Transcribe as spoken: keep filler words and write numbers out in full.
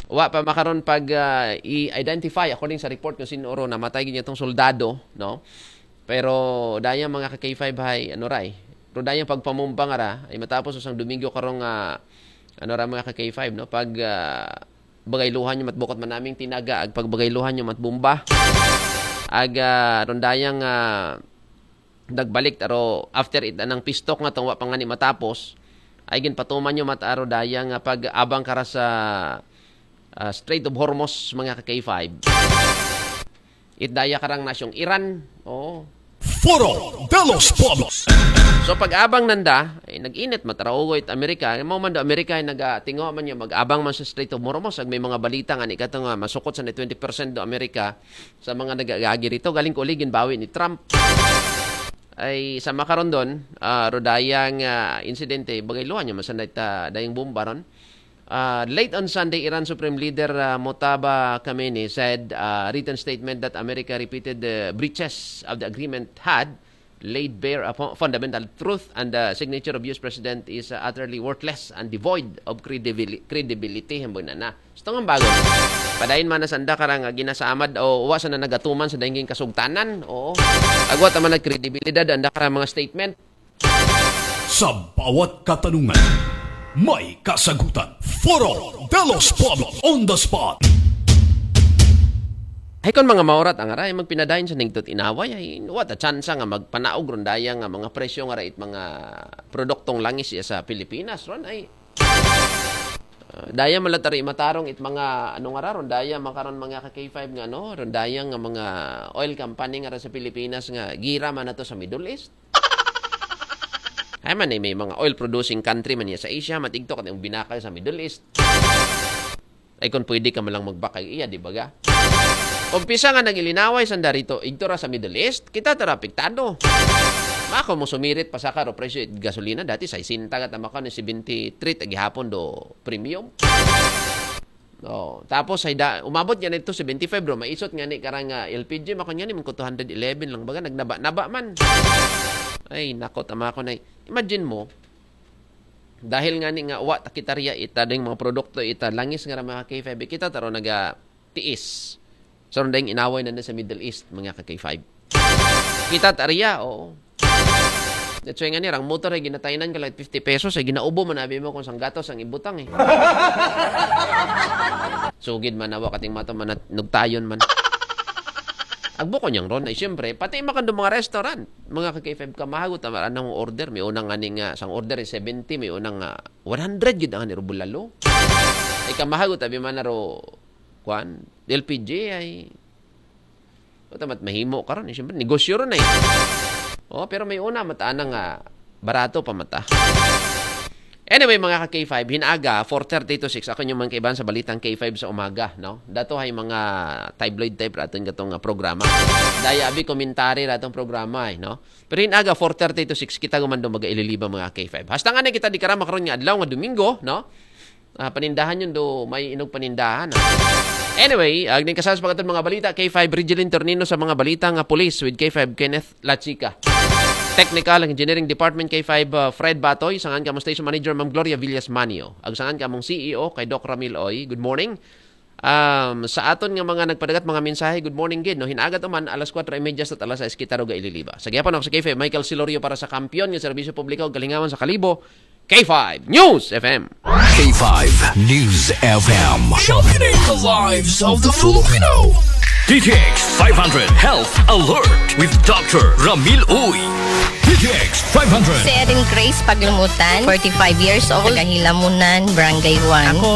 Wa pa makaron pag ah, i-identify according sa report kung sino ro namatay gid itong soldado, no? Pero dayang mga ka K five hay, ano ray? Pero dayang pagpamumba nga ra, ay matapos usang Domingo karong ah, ano ra mga ka K five, no? Pag ah, bagayluhan nyo matbukot manaming tinaga, ag pagbagayluhan nyo matbumba. Ag ah, ron dayang ah, nagbalik taro after it anang pistok nga tong wa pa nga ni matapos, ay ginpatuman nyo mat aro dayang ah, pag-abang kara sa ah, Strait of Hormuz, mga ka K five. It daya karang nasyong Iran. Oo. Foro de los Pueblos. So pag-abang nanda, ay nag-init mataraugo it Amerika. Mao man do Amerika ay nagatingo man niya mag-abang man sa Strait of Hormuz. Ag may mga balita nga ni kato nga masukot sa twenty percent do Amerika sa mga nagagagi rito. Galing ko uligin bawi ni Trump. Ay sa makaron don, ah, rodayang ah, insidente, bagay luha niya, masanda ita dayang bomba ron. Uh, late on Sunday, Iran Supreme Leader uh, Mojtaba Khamenei said uh, a written statement that America repeated the breaches of the agreement had laid bare upon fundamental truth and the signature of U S President is uh, utterly worthless and devoid of credibil- credibility. Hambog na na. Gusto nga bago. Padayon man na sanda karang uh, ginasamad o wa sa na nagatuman sa dayang kasugtanan. Oo. Agwa ta man nagkredibilidad anda karang mga statement. Sa bawat katanungan, may kasagutan. Foro de los Pueblos on the spot. Ay kon mga maurat ang aray magpinadayon sa ningtot inaway ay what a chance nga magpanaog ron daya nga mga presyo nga rait mga produktong langis iya sa Pilipinas ron ay uh, daya malatari matarong it mga ano nga raron daya makaron mga ka K five nga no ron daya nga mga oil company nga ra sa Pilipinas nga gira man nato sa Middle East. Ay man eh, may mga oil producing country man niya sa Asia, matigtok at yung binakal sa Middle East. Ay kung pwede ka malang magbakay iya, di ba ga? Umpisa nga nagilinaway sa darito, igto ra sa Middle East, kita tara apektado. Mako mo sumirit pa sa karo presyo it gasolina dati sixty ka tama ka ni seventy-three tagihapon do premium. Oh, tapos ay da, umabot nga nito seventy-five bro, maisot nga ni karang uh, L P G makon nga ni man ko two hundred eleven lang baga nagnaba-naba man. Ay nako tama ko na. Imagine mo dahil nga ni nga wa takitariya ita ding mga produkto ita langis nga ra mga K five kita taro naga tiis. So ding inaway na sa Middle East mga ka K five. Kita tariya, oo. That's why nga ni rang motor ay ginataynan ka lang fifty pesos ay ginaubo man abi mo kung sang gatos ang ibutang eh. Sugid man awa kating mato man nugtayon man. Agbo ko niyang ron ay siyempre pati makando mga restaurant mga ka K five kamahagot ang anong order may unang ani nga sang order is seventy may unang nga one hundred gid ang ani bulalo. Ay kamahagot abi man na ro kwan L P G ay Puta mat mahimo karon eh. Siyempre, negosyo ron eh. Oh, pero may una mata nga barato pa mata. Anyway, mga ka K five, hinaga, four thirty to six. Ako yung mga kaibahan sa balitang K five sa umaga, no? Dato ay mga tabloid type raton katong uh, programa. Daya abi komentary ratong programa, eh, no? Pero hinaga, four thirty to six, kita gumando mag-ililiba mga K five. Hasta nga na kita di karama karon nga adlaw nga Domingo, no? Ah, panindahan yun do may inog panindahan. Ah. Anyway, agning kasal sa pagkatod mga balita, K five Rigilin Tornino sa mga balita nga pulis with K five Kenneth Lachica. Technical and Engineering Department K five uh, Fred Batoy, sangan kamong Station Manager Ma'am Gloria Villas Manio. Ag sangan kamong C E O kay Doc Ramil Oy. Good morning. Um, sa aton nga mga nagpadagat mga mensahe, good morning gid, no? Hinagat uman alas kwatro y media sa alas sais kita ro gaililiba. Sa gyapon ako sa K five Michael Silorio para sa kampiyon nga serbisyo publiko ug kalingawan sa Kalibo, K five News F M. K five News F M. Championing the lives of the Filipino. D T X five hundred Health Alert with Doctor Ramil Uy. D T X five hundred. Si Erin Grace Paglumutan, forty-five years old, taga Hilamunan, Barangay one. Ako